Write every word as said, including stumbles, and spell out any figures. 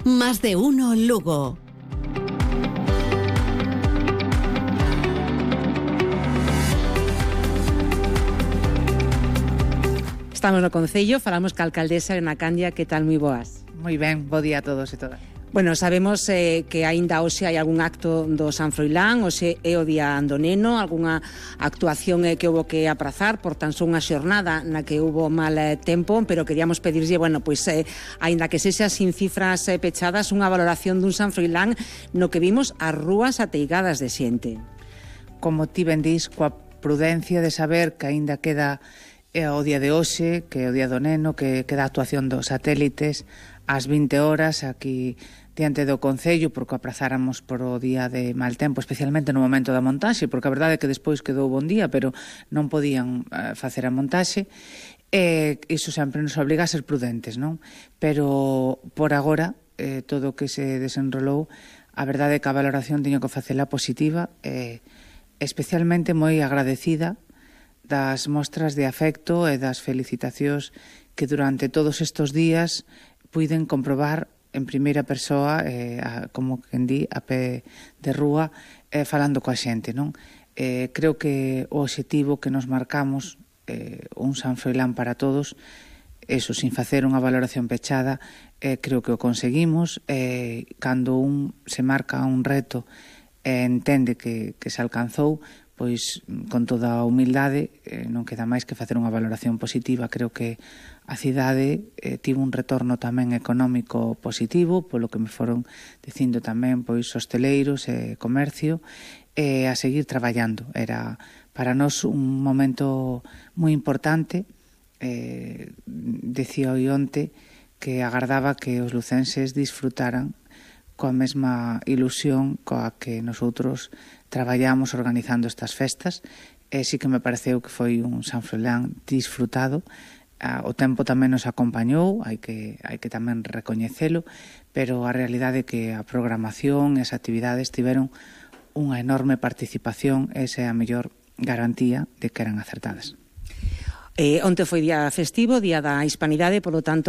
Más de uno Lugo. Estamos no Concello, falamos ca alcaldesa Elena Candia. Que tal, moi boas? Moi ben, bo día a todos e todas. Bueno, sabemos eh, que aínda hoxe hai algún acto do San Froilán, hoxe é o día do neno, algunha actuación eh, que houve que aprazar por tan só unha xornada na que houve mal eh, tempo, pero queríamos pedirlle, bueno, pois, eh, aínda que sexa sin cifras eh, pechadas, unha valoración dun San Froilán no que vimos as rúas ateigadas de xente. Como ti ben dis, coa prudencia de saber que aínda queda é o día de hoxe, que é o día do neno, que queda a actuación dos satélites ás vinte horas aquí diante do Concello, porque aprazáramos por o día de mal tempo, especialmente no momento da montaxe, porque a verdade é que despois quedou bon día, pero non podían uh, facer a montaxe, e iso sempre nos obriga a ser prudentes, non? Pero por agora, eh, todo o que se desenrolou, a verdade é que a valoración tiño que facela positiva, e eh, especialmente moi agradecida das mostras de afecto e das felicitacións que durante todos estes días puiden comprobar en primeira persoa, eh, a, como quen di, a pé de rúa, eh, falando coa xente, non? Eh, creo que o obxectivo que nos marcamos, eh, un San Froilán para todos, eso, sin facer unha valoración pechada, eh, creo que o conseguimos. Eh, cando un se marca un reto e eh, entende que, que se alcanzou, pois con toda a humildade eh, non queda máis que facer unha valoración positiva. Creo que a cidade eh, tivo un retorno tamén económico positivo, polo que me foron dicindo tamén pois hosteleiros e comercio, e a seguir traballando. Era para nós un momento moi importante. Eh, decía o onte que agardaba que os lucenses disfrutaran coa mesma ilusión coa que nosotros traballamos organizando estas festas, e sí que me pareceu que foi un San Froilán disfrutado. O tempo tamén nos acompañou, hai que, hai que tamén recoñecelo, pero a realidade é que a programación e as actividades tiveron unha enorme participación, esa é a mellor garantía de que eran acertadas. Eh, onte foi día festivo, día da Hispanidade, polo tanto